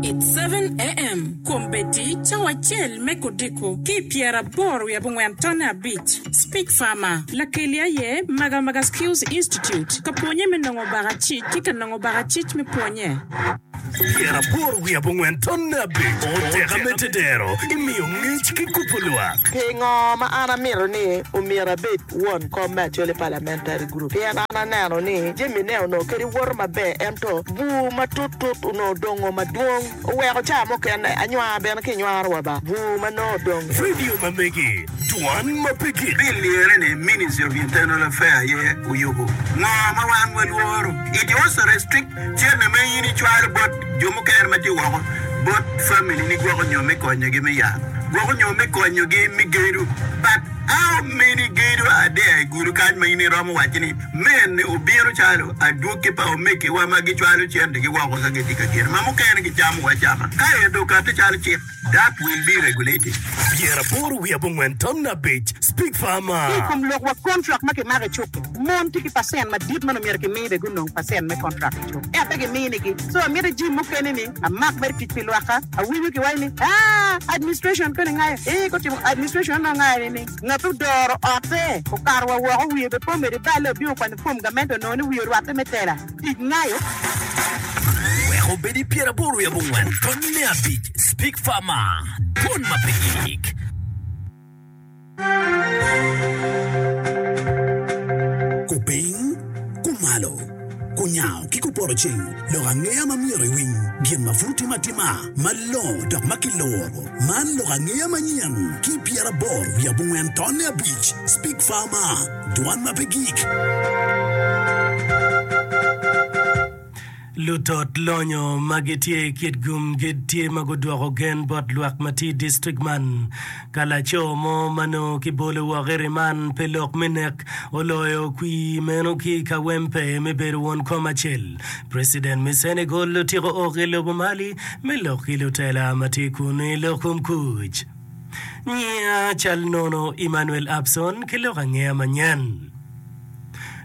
It's 7am, Kombeddi cawa acel me kudiko ki i pyeraboro wiye abongwen tonne abic. Speech Farmer, Lakeli aye Magamaga Skills Institute, ka pwonye me nongo bakacic ki ka nongo bakacic me pwonye. 84 tonne abic Oteka me tedero imiyo ngec ki kubo lwak. Pingo ma an amito ni omyero abed won kom me Acholi Parliamentary Group? Pien an aneno ni jami ne onongo kadi woto maber ento bur matut tut onongo odongo madwong oweko ca mukene anywar bene ki nywaro wa ba bur ma nongo odong. Radio ma megi, dwan ma pe gik. Bill lire ni Ministry of Internal Affair aye oyubo. Ngo ma wan walworo? It also restrict Cente ma in icwalo bot jo mukene ma tye woko bot family ni gwoko nyo me konyogi me yat, gwoko nyo me konyogi me gedo. But how many gedo are there i gudo kany ma in iromo waco ni mene obino calo adwogi pa omegiwa ma gicwalo centegi woko ka gitye ka gedo ma mukene gicamo wa acama ka ento okati calo cik? That will be regulated. 85 5 Speak Farmer. Ki i kom lok wa kontrak ma kimako i cuk-ki, mon tye ki pacent madit ma nongo myero kimi bene gunong pacent me kontrak i cuk ento pe giminigi. So amito jim mukene ni amak mere tic pi lwakka. Awinyo kiwaco ni aa administration koni ngayo ee gutimo administration onongo ngayo ni ni ngat odoro otte okato wa woko wiye bene pe omedo iballe obino okwanyo form gamente onongo ni wiye orwatte me tela. Tic ngayo. Wek obed i pyeraboro wiye abongwen tonne abic Speak Farmer, Dwon ma pe gik. Kupiny, kumalo, kunyango ki kupoto ceng, lok angeya ma myero iwiny, gin ma pud timo atima, malongo dok ma kiluro. Man lok angeya manyen ki pyeraboro wiye abongwen tonne abic Speak Farmer. Dwan ma pe gik. Lutot lonyo ma gitye i Kitgum gitye ma gudwoko gen bot lwak ma tye i distrik man ka laco mo ma nongo kibolo woko i riman pi lok me nek oloyo kwir meno ki i Kawempe me bedo won kom acel. President me Senegal otyeko ok i lobo Mali me lok ki lutela ma tye kunu i lok kom kuc. Nyiya cal nono Emmanuel Abson ki lok angeya manyen.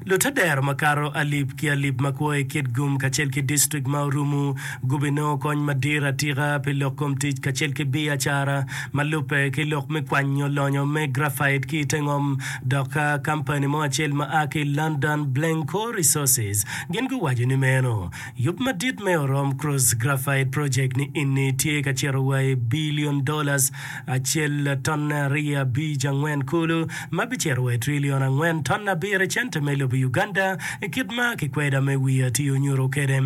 Lutedero makato alip ki alip ma kwo i Kitgum kacel ki distrik ma orumu gubinongo kony madit atika pi lok kom tic kacel ki biacara ma lubbe ki lok me kwanyo lonyo me graphite ki i te ngom dok ka kampani mo acel ma a ki i London Blencowe Resources gin guwaco ni meno Yub madit me Orom Cross Graphite Project ni eni tye ka cito wa i billion dollars acel tonne aryo abic angwen kulu ma bicito wa i trillion angwen tonne abiro i cente me lobo Uganda i kit ma kikweda me wi atir onyuto kwede.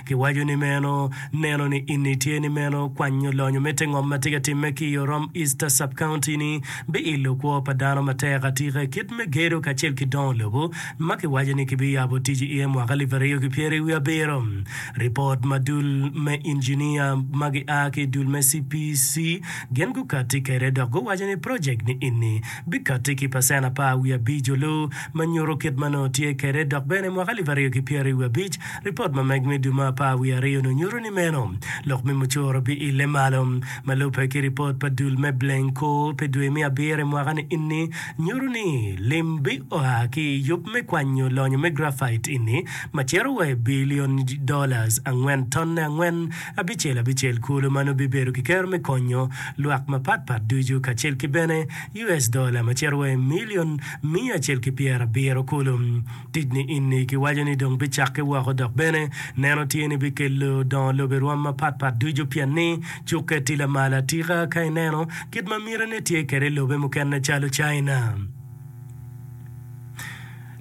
Kiwaco ni meno neno ni eni tye ni meno kwanyo lonyo me te ngom ma tye ka timme ki i Orom East Sub-County ni biilo kwo pa dano matek atika i kit me gedo kacel ki dongo lobo ma kiwaco ni kibiyabo tic iye mwaka alip aryo ki pyerabiro. Ripot ma dul me injinia ma gia ki i dul me CPC gin gukatti kwede dok guwaco ni projek ni eni bikatti ki pacen apar wiye abic olu ma nyuto kit ma nongo tye kwede dok bene mwaka alip aryo ki pyerabiro ripot ma meg me dwe me apar wiye aryo ni nyuto ni meno lok me mucoro biile malo. Ma lubbe ki ripot pa dul me Blencoe pi dwe me abiro i mwaka ni eni nyuto ni lim bioa ki i yub me kwanyo lonyo me graphite eni ma cito wa i bilion dollars angwen tonne angwen abicel abicel kulu ma nongo bibedo ki kero me konyo lwak mapat pat ducu kacel ki bene US dollar ma cito wa i milion miya acel ki pyerabiro kulu. Tic ni ini kiwaco ni dong bicakke woko dok bene neno tye ni bikelo dongo lobo i rwom mapat pat ducu pien ni cukke tye lamal atika ka ineno kit ma mitine tye kwede i lobe mukene calo China.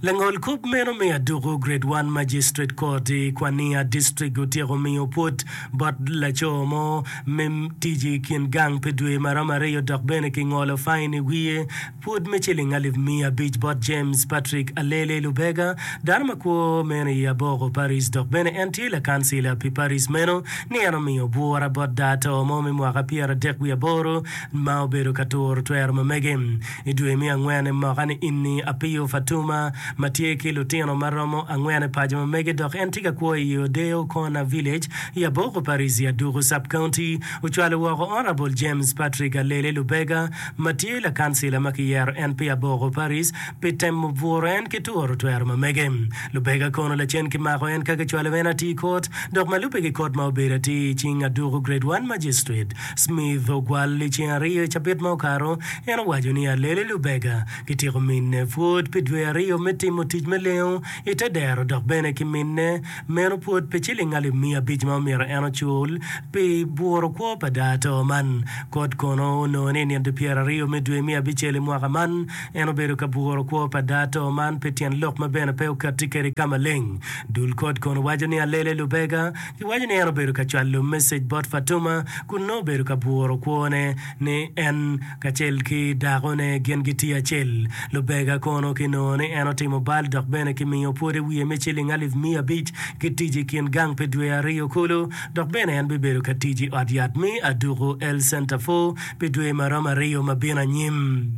Langol kop meno me aduku Grade One Magistrate Court i Kwania District otyeko miyo pwod bot laco mo me tic i kin gang pi dwe maromo aryo dok bene kingolo fain i wiye Pwod me ciling alip miya abic bot James Patrick Alele Lubega, dano ma kwo meno i Aboko Parish dok bene en tye lakancila pi parish meno, ni en omiyo bwura bot dato mo me mwaka 38 ma obedo ka turo twero ma mege. I dwe me angwen i mwaka ni ini, Apiyo Fatuma. ma tye ki lutino ma romo angwen i paco ma mege dok en tye ka kwo i Odeo Corner Village i Aboko Parish i Aduku Sub-County, ocwalo woko Honourable James Patrick Alele Lubega ma tye lakancila ma kiyero en pi Aboko Parish pi temo bwuro en ki turo twero ma mege. Lubega kono lacen kimako en ka kicwalo en atir kot dok ma lubbe ki kot ma obedo atir i cing Aduku Grade One Magistrate Smith Ogwal i ceng aryo i cabit ma okato, en owaco ni Alele Lubega kityeko mine pwod pi dwe aryo me timo tic me lengo i te dero dok bene ki mine meno pwod pi ciling alip miya abic ma omyero en ocul pi bwuro kwo pa daa-to man. Kot kono onongo ni i nino 20 me dwe me abicel i mwaka man, en obedo ka bwuro kwo pa daa-to man pi tyen lok ma bene pe okatti kwede ka maleng. Dul kot kono waco ni Alele Lubega kiwaco ni en obedo ka cwalo mesej bot Fatuma kun nongo obedo ka bwuro kwone ni en kacel ki dakone gin gitye acel. Lubega kono kinongo ni en otimo bal dok bene kimiyo pwod i wiye me ciling alip 500 ki tic i kin gang pi dwe aryo kulu dok bene en bibedo ka tic i ot yat me Aduku Health Centre Four pi dwe maromo aryo ma bino anyim.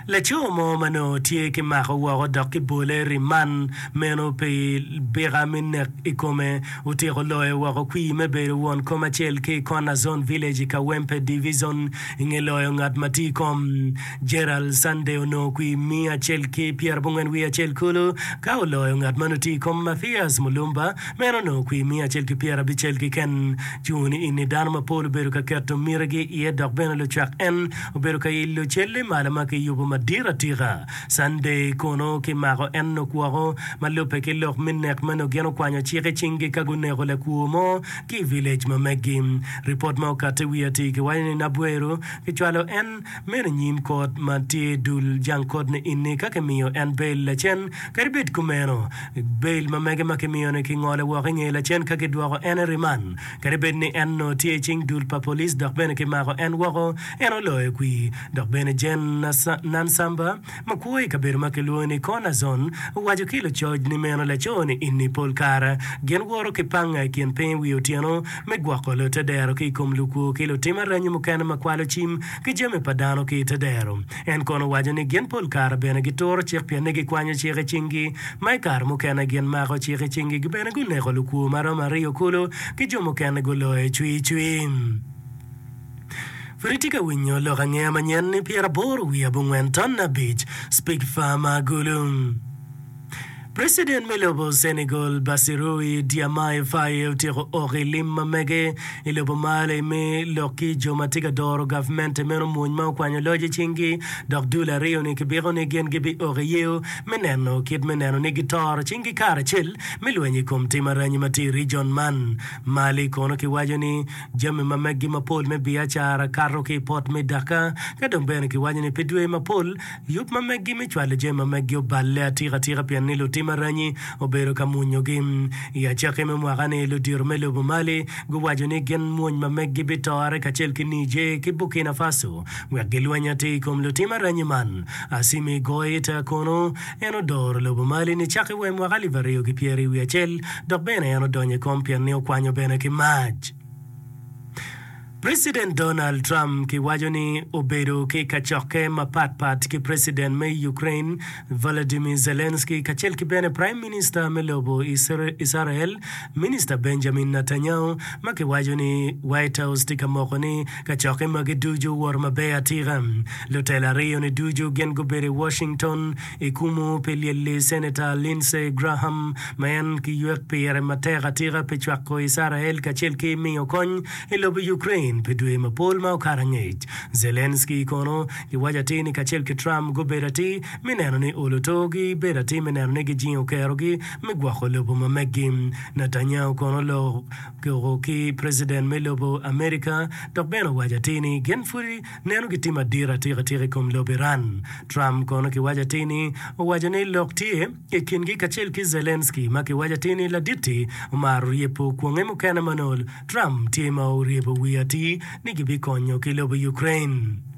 Laco mo ma nongo tye ki mako woko dok ki bole riman meno pi bika me nek i kome otyeko loyo woko kwir me bedo won kom acel ki i Corner Zone Village i Kawempe Divizon i nge loyo ngat ma tye i kom Gerald Sunday onongo kwir 194 kulu ka oloyo ngat ma nongo tye i kom Mathias Mulumba ma en onongo kwir 150 keken. Cungo-ni ini dano mapol obedo ka keto mitigi iye dok bene lucwak en obedo ka ilo celle malo ma kiyubo madit atika. Sunday kono kimako en nok woko ma lubbe ki lok me nek ma nongo gin okwanyo cik i cinggi ka guneko lakwo mo ki i village ma meggi. Ripot ma okatte wiye atir kiwaco ni Nabweru kicwalo en meno i nyim kot ma tye dul jang kot ni ini ka kimiyo en bail lacen. Kadi bed kumeno, bail ma mege ma kimiyo-ni kingolo woko i nge lacen ka kidwoko en i riman. Kadi bed ni en onongo tye i cing dul pa police dok bene kimako en woko, en oloyo kwir. Dok bene Gen. Nansamba, ma kwo i kabedo ma kilwongo ni Corner Zone, owaco ki lucoc ni meno laco-ni ini pol kare gin woto ki panga i kin piny i wi otyeno me gwoko lutedero ki i kom lukwo ki lutim aranyi mukene ma kwalo cim ki jami pa dano ki i tedero. En kono owaco ni gin pol kare bene gituro cik pien ni gikwanyo cik i cinggi, ma i kare mukene gin mako cik i cinggi bene guneko lukwo ma romo aryo kulu ki jo mukene guloyo cwicwi. Pud itye ka winyo lok angeya manyen ni 85 Speak Farmer Gulu. Preciden me lobo Senegal Bassirou Diomaye Faye otyeko ok i lim ma mege i lobo Mali me lok ki jo ma tye ka doro gavmente meno mwony ma okwanyo loc i cinggi dok dul aryo-ni kibiko ni gin gibiok i yeo me neno kit me neno ni gitoro cinggi karacel me lweny i kom tim aranyi ma tye i region man. Mali kono kiwaco ni jami ma meggi mapol me biacara kato ki i pot me Dakar ka dong bene kiwaco ni pi dwe mapol Yub ma meggi me cwalo jami ma meggi oballe atika atika pien ni lutim aranyi obedo ka mwonyogi. I acakki me mwaka-ni, ludito me lobo Mali guwaco ni gin mwony ma meggi bitore kacel ki Niger ki Burkina Faso wek gilweny atir i kom lutim aranyi man. Assimi Goita kono en odoro lobo Mali nicakke wa i mwaka 2021 dok bene en odonyo i kom pien ni okwanyo bene ki mac. President Donald Trump kiwaco ni obedo ki kacokke mapat pat ki President me Ukraine Volodymyr Zelensky kacel ki bene Prime Minister me lobo Icrael Minister Benjamin Netanyahu ma kiwaco ni White House tye ka moko ni kacokke magi ducu owoto maber atika. Lutela aryo-ni ducu gin gubedo i Washington i kumu pi lyelli Senator Lindsey Graham ma en kiywek pire matek atika pi cwako Icrael kacel ki miyo kony i lobo Ukraine pi dwe mapol ma okato angec. Zelensky kono kiwaco atir ni kacel ki Trump gubedo atir me neno ni olo togi bedo atir me neno ni gijingo kerogi me gwoko lobo ma meggi. Netanyahu kono oloko ki President me lobo America dok bene owaco atir ni gin pud neno gitye madit atika tika i kom lobo Iran. Trump kono kiwaco atir ni owaco ni lok tye i kingi kacel ki Zelensky ma kiwaco atir ni ladit-ti omaro ryebo kwonge mukene ma nongo Trump tye ma oryebo wiye atir ni gibikonyo ki lobo Ukraine.